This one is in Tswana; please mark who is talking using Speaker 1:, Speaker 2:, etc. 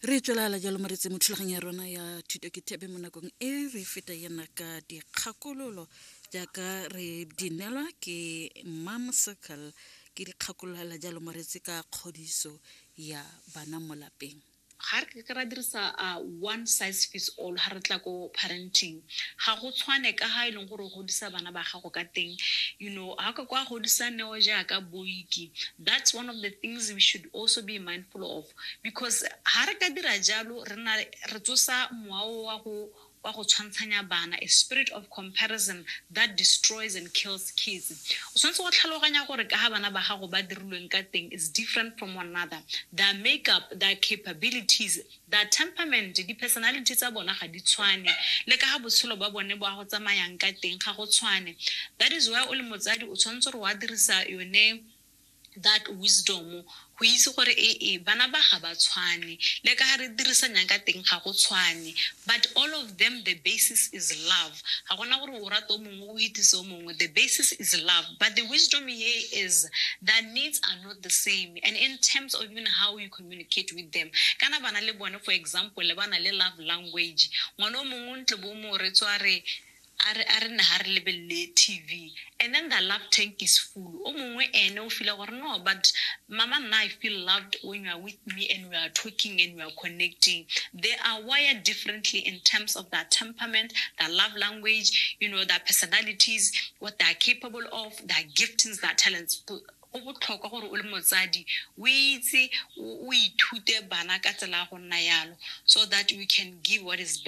Speaker 1: Re tswelela jalo moretsi mo thulaganyo ya rona ya thuto ke thebe mo nakong e re feta yana ka dikgakololo jaaka re di neelwa ke Mom Circle. Ke dikgakololo jalo moretsi ka kgodiso ya bana mo lapeng.
Speaker 2: Ga re ke ra dirisa one size fits all ga re tla ko parenting. Ga go tshwane ka ga e leng gore o godisa bana ba gago ka teng. Ga ka kwa godisa Neo jaaka Boiki. That's one of the things we should also be mindful of, because ga re ka dira jalo, re na re tsosa mowa wa go tshwantshanya bana, a spirit of comparison that destroys and kills kids. O tshwanetse go tlhaloganya gore ka ga bana ba gago ba dirilweng ka teng is different from one another. Their makeup, their capabilities, their temperament, di-personality tsa bona ga di tshwane, le ka ga botshelo ba bone bo a go tsamayang ka teng ga go tshwane. That is why o le motsadi o tshwanetse gore wa dirisa yone that wisdom go itse gore ee, bana ba ga ba tshwane, le ka ga re dirisanyang ka teng ga go tshwane, but all of them, the basis is love. Ga gona gore o rata o mongwe o itise o mongwe. The basis is love, but the wisdom here is their needs are not the same, and in terms of even how you communicate with them, kana bana le bone, for example, le bana le love language. Ngwana o mongwe ntle bo mo re tswa re a re ne ga re lebelele TV and then the love tank is full. O mongwe ene o feel gore, "No, but mama, nna I feel loved when you are with me and we are talking and we are connecting." They are wired differently in terms of their temperament, their love language, their personalities, what they are capable of, their giftings, their talents. Go botlhokwa gore o le motsadi o itse, o ithute bana ka tsela ya go nna yalo, so that we can give what is best.